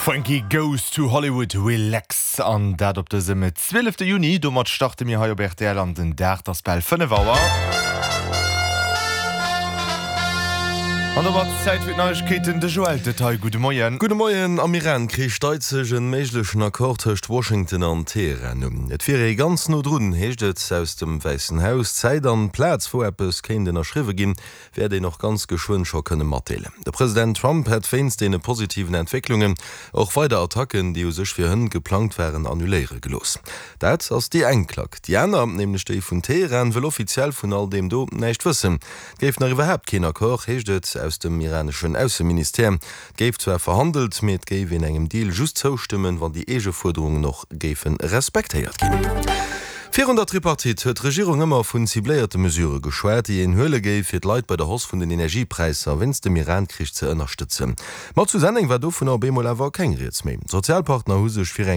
Frankie Goes to Hollywood, Relax an dat op dësem 12 Juni. Domat starte mir hei op rtl an den Dag. 't ass bal 5 Auer. An domat Zäit fir d'Neiegkeeten. De Joël Detaille, gudde Moien. Gudde Moien. Am Iran-Krich deit sech en méiglechen Accord tëscht Washington an Teheran un. Et wier ee ganz no drun, heescht et aus dem Wäissen Haus. D'Zäit an d'Plaz, wou eppes kéint ënnerschriwwe ginn, wäert een och ganz geschwënn scho kënne matdeelen. De President Trump hätt wéinst deene positiven Entwécklungen och weider Attacken, déi u sech fir hënt geplangt waren, annuléiere gelooss. Dat ass déi eng Klack. Déi aner, nämlech déi vun Teheran, wëll offiziell vun all deem do näischt wëssen. Et géif nach iwwerhaapt keen Accord, heescht et aus dem iraneschen Ausseministère. Et géif zwar verhandelt, mee et géif een engem Deal just zoustëmmen, wann déi eege Fuerderungen och géife respektéiert ginn. Virun der Tripartite huet d'Regierung ëmmer vun cibléierte Mesurë geschwat, déi een huele géif, fir d'Leit bei der Hausse vun den Energiepräisser wéinst dem Iran-Krich ze ënnerstëtzen. Ma zu Senneng war dovunner op eemol awer keng Rieds méi. D'Sozialpartner hu sech fir eng.